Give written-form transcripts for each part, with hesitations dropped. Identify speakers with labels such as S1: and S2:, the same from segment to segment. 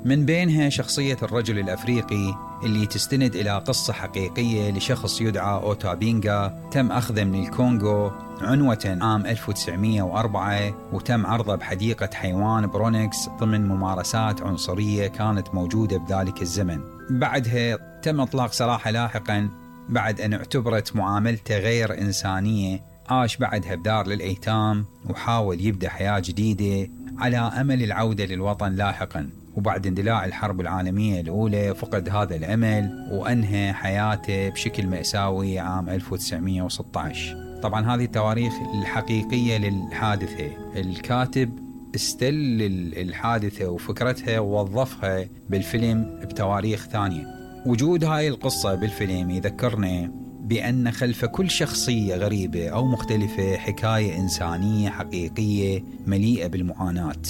S1: من بينها شخصية الرجل الأفريقي اللي تستند إلى قصة حقيقية لشخص يدعى أوتابينغا، تم أخذه من الكونغو عنوة عام 1904، وتم عرضه بحديقة حيوان برونكس ضمن ممارسات عنصرية كانت موجودة بذلك الزمن. بعدها تم إطلاق سراحه لاحقا بعد أن اعتبرت معاملته غير إنسانية. عاش بعدها بدار للأيتام وحاول يبدأ حياة جديدة على أمل العودة للوطن لاحقا، وبعد اندلاع الحرب العالمية الأولى فقد هذا الأمل وأنهى حياته بشكل مأساوي عام 1916. طبعا هذه التواريخ الحقيقية للحادثة. الكاتب استل الحادثة وفكرتها ووظفها بالفيلم بتواريخ ثانية. وجود هاي القصة بالفيلم يذكرنا بأن خلف كل شخصية غريبة أو مختلفة حكاية إنسانية حقيقية مليئة بالمعاناة.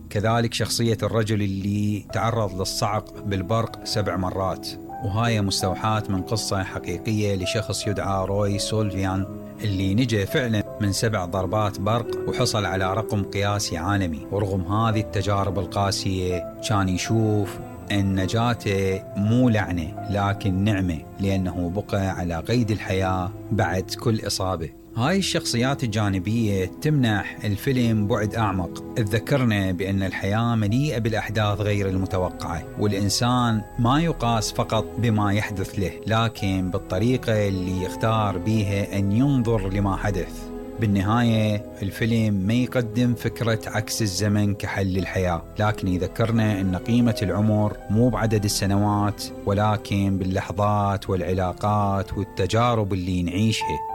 S1: كذلك شخصية الرجل اللي تعرض للصعق بالبرق 7 مرات، وهاي مستوحاة من قصة حقيقية لشخص يدعى روي سولفيان اللي نجى فعلا من 7 ضربات برق وحصل على رقم قياسي عالمي. ورغم هذه التجارب القاسية كان يشوف أن نجاته مو لعنة لكن نعمة، لأنه بقى على قيد الحياة بعد كل إصابة. هاي الشخصيات الجانبية تمنح الفيلم بعد أعمق، تذكرنا بأن الحياة مليئة بالأحداث غير المتوقعة، والإنسان ما يقاس فقط بما يحدث له لكن بالطريقة اللي يختار بيها أن ينظر لما حدث. بالنهاية الفيلم ما يقدم فكرة عكس الزمن كحل للحياة، لكن يذكرنا أن قيمة العمر مو بعدد السنوات ولكن باللحظات والعلاقات والتجارب اللي نعيشها.